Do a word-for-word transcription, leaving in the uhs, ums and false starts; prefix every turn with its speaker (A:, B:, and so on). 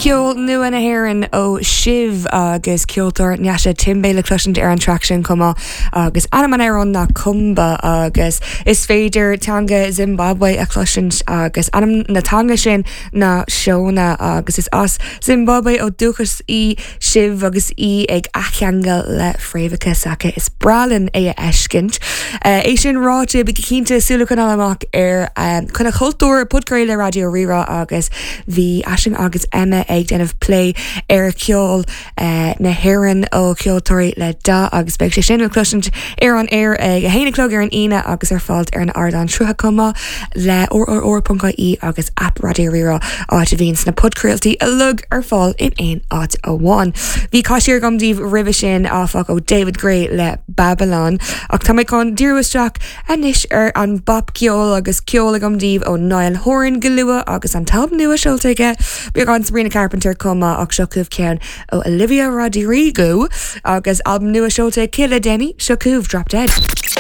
A: Ceol nua na hÉireann ó Shiv agus ceoltóir Nyasha Timbe le cloisint ar an traic sin chomh maith agus ainm an amhráin ná Cumba agus is féidir teanga Zimbabwe a chloisint agus ainm na teanga sin ná Shona agus is as Zimbabwe ó dúchas í Shiv agus í ag athcheangal le fréamhacha s'aici is breá linn é a fheiscint. Uh, é sin ráite bí cinnte súil a choinneáil amach ar um, Coinne Chultúir podchraoladh Raidió Rí-Rá agus bhí Aisling agus Emma ag déanamh plé ar ceol uh, na hÉireann ó ceoltóirí le dath agus beidh sé sin le cloisint ar an air ag a haon a chlog ar an Aoine agus ar fáil ar an ardán srutha chomh maith le rrr.ie agus app Raidió Rí-Rá áit a bhíonn sna podchraoltaí uilig ar fáil in aon áit amháin. Bhí caiisiir gom díobh roimhe sin áfach ó David Gray le Babylon ach tá mé chun díriú isteach anois ar an bpopcheol agus ceol agam daoibh ó Niall Horan go luath agus an t-albam nua seolta aige beagán Sabrina Carpenter chomh maith ach seo chugaibh ceann ó Olivia Rodrigo agus albam nua seolta aici le déanaí seo chugaibh Drop Dead.